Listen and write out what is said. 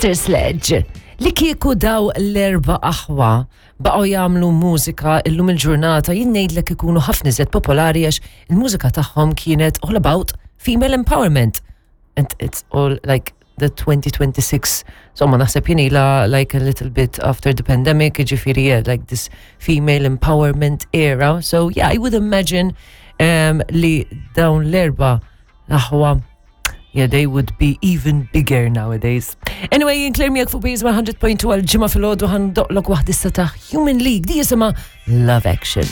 Sister Sledge, li kieku daw l-erba aħwa baqgħu jagħmlu mużika illum il-ġurnata jien ngħidlek ikunu ħafna iżjed popolari għax il-mużika tagħhom kienet all about female empowerment. And it's all like the 2026. Insomma, naħseb jien ila like a little bit after the pandemic, ġifieri yeah, like this female empowerment era. So yeah, I would imagine um, li dawn l-erba aħwa Yeah, they would be even bigger nowadays. Anyway, jien Claire miegħek fuq Base 100.2 għal ġimgħa filgħodu ħandoqlok waħda ta' Human League di jisimha Love Action.